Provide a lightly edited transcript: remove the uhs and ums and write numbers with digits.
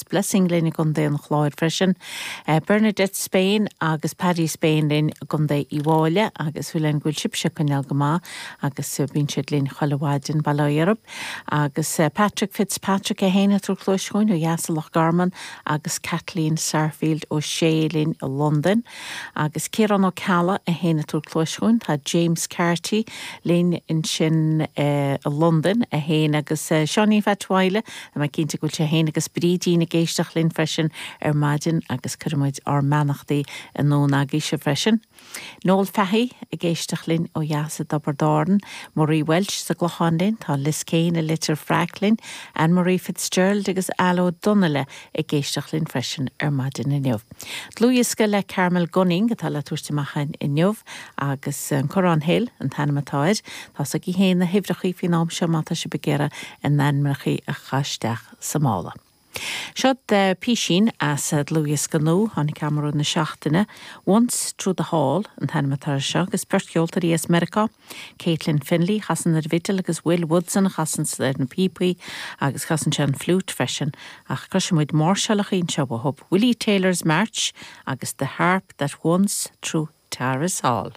Blessing linn i gContae an Chláir freisin, Bernadette Spain agus Paddy Spain linn i gContae Uíbh Fhailí agus súil againn go bhfuil sibhse ag coinneáil go maith agus bíonn siad linn chuile mhaidin, bail ó Dhia oraibh. Agus Patrick Fitzpatrick é féin ag tabhairt cluais chugainn ó dheas i Loch Garman agus Kathleen Sarfield O'Shea linn i Londain agus Ciarán Ó Ceallaigh é féin ag tabhairt cluais chugainn, tá James Carty linn ansin i Londain é féin agus Seáinín Pheait Mhaidhle Tá mé cinnte go bhfuil sé féin agus Brídín ag éisteacht linn freisin ar maidin agus cuireann muid ár mbeannachtaí anonn agaibhse freisin. Noel Fahey ag éisteacht linn ó dheas i dTiobraid Árann, Marie Walsh sa gClochán linn, tá Liz Kane i Leitir Fraic linn, Anne Marie Fitzgerald agus Al Ó Donnaile ag éisteacht linn freisin ar maidin inniu. Dlúthdhiosca le Carmel Gunning atá le tabhairt amach againn inniu agus An Corrán Hill an t-ainm atá air. Tá 's agaibh féin na huimhreachaí faoin am seo má tá sibh ag iarraidh a n-ainmneachaí a chur isteach sa mála. Seo písín as dlúthdhiosca nua, tháinig amach i rith na seachtaine, Once Through the Hall an t-ainm atá air seo agus beirt cheoltóirí as Meiriceá, Caitlin Finley a chasann ar an bhfidil agus Will Woodson a chasann ar na píopaí agus casann sé an fliúit freisin. Ach cloisfidh muid máirseálachaí anseo uathu, Willie Taylor's March agus The Harp That Once Through Tara's Hall.